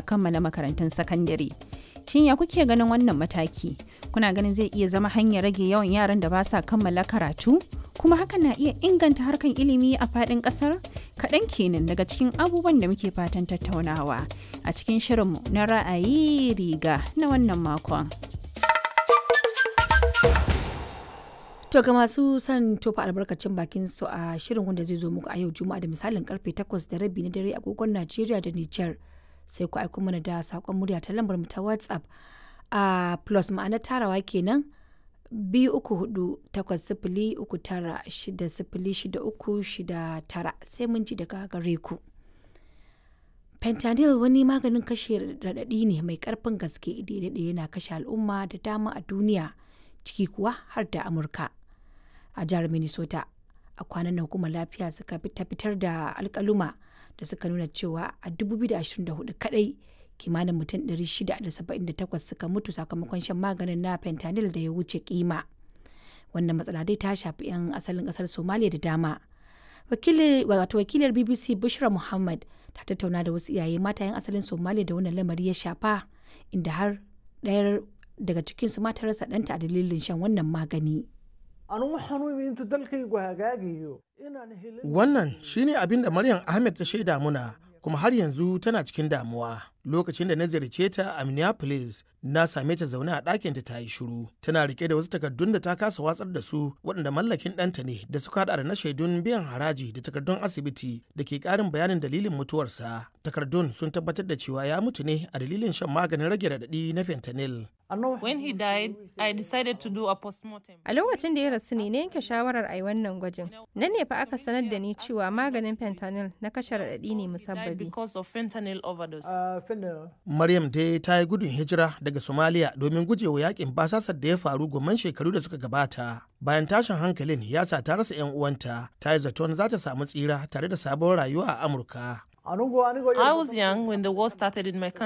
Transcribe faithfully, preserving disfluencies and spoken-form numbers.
Kammala makarantun sakandare. Shin ya kuke ganin wannan mataki? Kuna ganin zai iya zama hanyar rage yawan yaran da ba sa kammala karatu? Kuma hakan na iya inganta harkan ilimi a faɗin ƙasar? Kaɗan kenan daga cikin abubuwan da muke fatan tattaunawa a cikin shirinmu na ra'ayi riga na wannan makon. To ga masu son tofa albarkacin bakin su a shirin wanda zai zo muku a yau Juma'a da misalin karfe takwas da rabi na dare agogon Najeriya da Nijar. Sai ku aiko mana da sakon murya ta lambar mu ta WhatsApp a plus ma'ana tarawa kenan biyu uku hudu takwas sifili uku tara shida sifili shida uku shida tara sai mun ji daga gare ku. Fentanyl wani maganin kashe raɗaɗi ne mai ƙarfin gaske da ya daɗe yana kashe al'umma da dama a duniya, ciki kuwa har da Amurka. A jihar Minnesota, a kwanan nan hukumar lafiya suka ta fitar da alkaluma da suka nuna cewa a dubu biyu da ashirin da huɗu kadai kimanin mutum ɗari shida da saba'in da takwas suka mutu sakamakon shan maganin na fentanyl da ya wuce kima. Wannan matsala dai ta shafi 'yan asalin kasar Somalia da dama. Wato wakilar B B C Bushra Muhammad ta tattauna da wasu iyaye mata 'yan asalin Somalia da wannan lamari ya shafa, inda har ɗayar daga cikinsu ma ta rasa ɗanta a dalilin shan wannan magani. Wannan shine abin da Maryam Ahmed ta shaida muna, kuma har yanzu tana cikin damuwa. Lokacin da na ziyarce ta a Minneapolis, na same ta zaune a ɗakinta ta yi shiru. Tana rike da wasu takardun da ta kasa watsar da su, waɗanda mallakin ɗanta ne, da suka haɗa da na shaidun biyan haraji da takardun asibiti da ke ƙarin bayanin dalilin mutuwarsa. Takardun sun tabbatar da cewa ya mutu ne a dalilin shan maganin rage raɗaɗi na fentanyl. When he died, I decided to do a postmortem. A lokacin da ya rasu ne na yanke shawarar a yi wannan gwajin. Nan ne fa aka sanar da ni cewa maganin fentanyl na kashe raɗaɗi ne He died musabbabi. because of fentanyl overdose. Maryam dai ta yi gudun hijira daga Somalia domin gujewa yakin basasar da ya faru gomman shekaru da suka gabata. Bayan tashin hankalin ya sa ta rasa 'yan uwanta, ta yi zaton za ta samu tsira tare da sabon rayuwa a Amurka. I was young when the war started in my country.